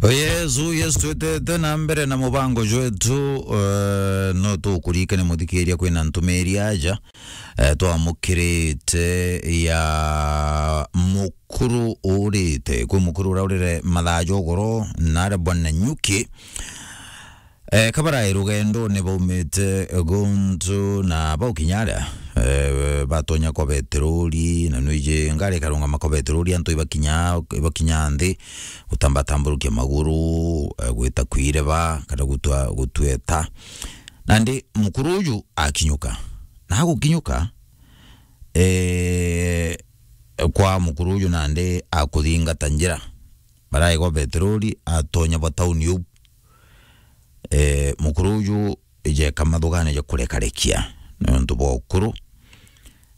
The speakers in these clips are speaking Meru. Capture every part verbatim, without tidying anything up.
Oh yes, oh yes, twitete na mbere na mubango jwetu, eh, no tukuririkane muthikiria kwina ntumiri aja, eh, twamukirite ya mukuru urite, kwi mukuru uraurire mathaa jogoro, nare bwana Nyuki. Eh, kabarae rugendone baumite guntu na baukinya aria, eh, batonya kwa beterori, na nwiji ngari ikarungama kwa beterori, antu ibakinya, ibakinya nthi, gutambatamburukia maguru, eh, gwita kwireba, kana gutwa-, gutweta. Nandi mukuru uju akinyuka. Na agukinyuka, eh, kwa mukuru uju nandi akuthingata njira. Baraigwa beterori, atonya bwa tauni uu. Eh, mukuru uju ijeka mathugane ja kurekarekia. Nontu bwa ukuru,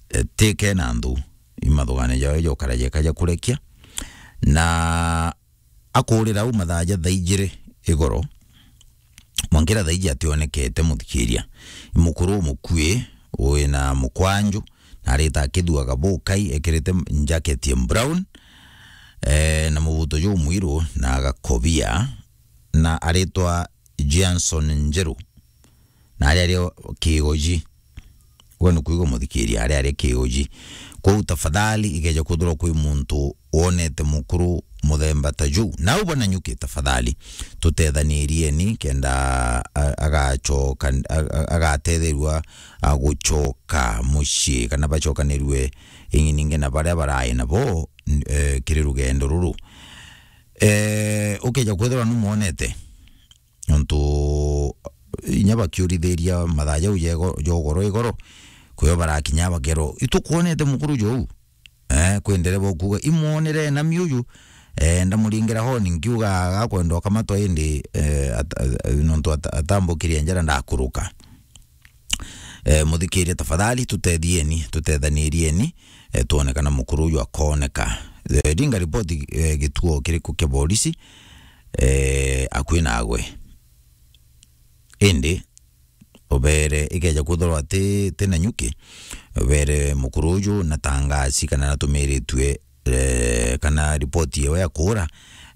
eh, tike na nthu, imathugane jawe jokara jeka ja kurekia. Na akurira au mathaa ja thaa ijiri igoro, mwankira thaa iji ationekete muthikiria. Mukuru umukui, wina mukwanju, na arita akithuaga bukai, ekirite njaketi ya brown, eh, na mubuto jumwiru na agakobia, na aritwa Johnson Njeru, na aria ari o Kigoji. Gwe ni kuigua muthikiria, aria ari Kigoji. Kwou tafadhali, ikeja kwithirwa kwi muntu wonete mukuru muthemba ta juu, nau bwana Nyuki, tafadhali, tutethanirieni kenda a-, agacoka, a-, a-, agatetherua, a, gucoka mucii, kana bacokanirue ingi ningi na baria barai nabo, n-, eh, kiri rugendo ruru. Eh, ukeja kwithirwa numwonete, nontu inya bakiurithiria mathaa jau jego-, jogoro igoro, kwio barakinya bakerwo, "Itukwonete mukuru jou?" Eh, kwi ndereba ukuga, "Imwonire na miuju." Eh, ndamuringira honi, nkiuga, "Agakwenda ukamatwa indi, eh, at-, at-, nontu at-, atambukirie njara ndakuruka." Eh, muthikiria, tafadhali, tutethieni, tutethanirieni, eh, twone kana mukuru uju akoneka. Eh, ringa ripoti, eh, gituo kiriku kia borisi, eh, akui nagwe. Indi, ubere ikeja kwithirwa ti, ti Nanyuki, ubere mukuru uju na tangasi kana natumiritue, eh, kana ripoti yewe ya kuura,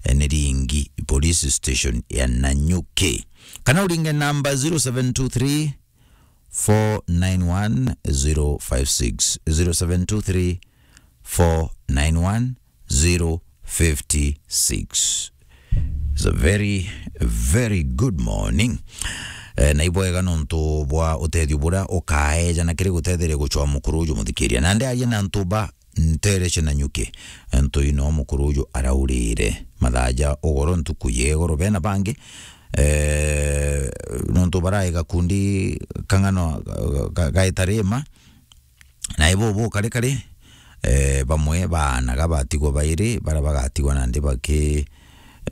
eh, ni ringi police station ya Nanyuki. Kana uringe namba zero seven two three, four nine one, zero five six, zero seven two three, four nine one, zero fifty six. It's a very, very good morning. Eh, na ibwega nontu bwa utethio buria ukaeja na kiri gutetheria gucwa mukuru uju muthikiria. Na ndiaria na antu ba ntere cia Nanyuki, antu ino mukuru uju araurire mathaa ja ugoro ntuku ya igoro bena bangi, eh, nontu barai gakundi kang'ano ga, ga, gaita rima, na ibo bo kari kari, eh, bamwe baanaga batigwa bairi, baria bagatigwa nandi baki,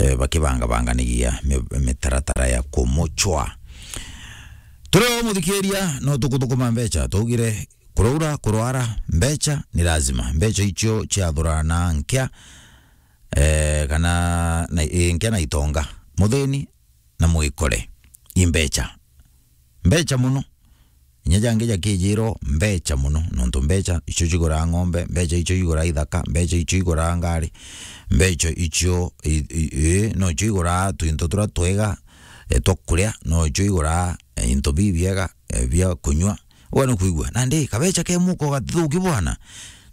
eh, bakibangabanganigia mi-, mitaratara ya kumucwa. Turi o muthikiria, no tukuthukuma mbecha, twaugire kuraura, kurwara, mbecha ni lazima. Mbecha icio ciathurana nkia, eh, kana na, eh, nkia na itonga. Muthini na mwikore. I mbecha. Mbecha muno. Inya jangi jakijirwo mbecha muno, nontu mbecha icio ciguraga ng'ombe, mbecha icio iguraga ithaka, mbecha icio iguraga ngari, mbecha icio i, i, i, no cio iguraga twinto turia twega, eh, twa kuria, no cio iguraga, eh, into bibiega, eh, bia kunywa. Uga ni kwigua. Nandi kabecha ke muko gatithuki bwana.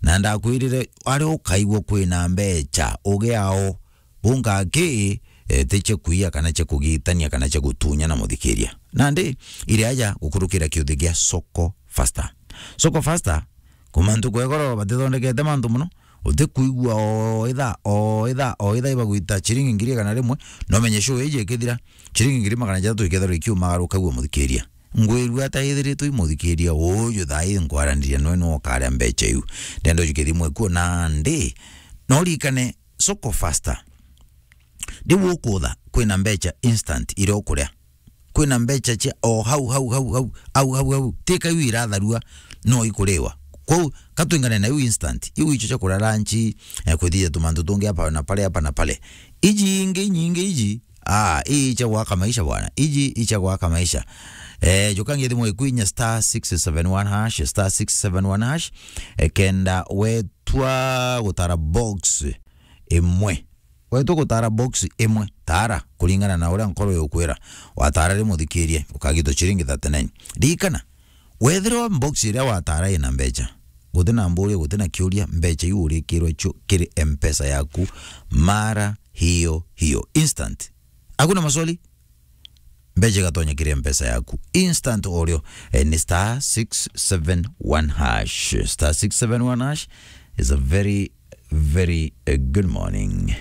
Na ndakwirire, ari ukaigua kwina mbecha, ugiao. Bunga ki, eh, ti cia kuia kana cia kugitania kana cia gutunya na muthikiria. Nandi, iri aja gukurukira kiuthi gia Soko Faster. Soko Faster, kuma ntuku ya igoro batithondekete mantu muno, utikwigua o itha, o itha, o itha ibagwita ciringi ngiri igana rimwe, no menye show iji ikithira, ciringi ngiri magana jathatu ikethirwa ikiumagaruka gua muthikiria. Ngwirua ata ithiritwe i muthikiria uju thaa ii nkwaraniria noe no ukaria mbecha iu. Ndenda ujukithimwe kuo nandi, no urikane Soko Faster. Riu ukutha, kwina mbecha instant iria ukuria. Kwina mbecha cia o hau, hau, hau, hau, hau, hau, hau. Ti ka iu iratharua, no ikuriwa. Kwou, katwingane na iu instant. Iu icio cia kuria lunch, eh, kwithithia tumantu tungi hapa na pale, hapa na pale. Iji ingi nyingi iji, ah, ii icia gwaka maisha bwana. Iji icia gwaka maisha. Eh, juka ngi thimu iku inya star six seven one hash, star six seven one hash, eh, kenda wetwa gutara box imwe. Wetu gutara box imwe, tara kuringana na uria nkoro yukwira. Watara ri muthikirie, ukagitwa ciringi thirty-nine. Ririkana, wethirwa box iria watara ina mbeca, guti na mburi, guti na kiuria, mbeca iu urikirwe cio kiri M-Pesa yaku mara hiyo hiyo. Instant. Hakuna maswali? Mbeca igatonya kiri M-Pesa yaku. Instant o rio, eh, ni star six seven one hash. Star six seven one hash is a very, very, eh, good morning.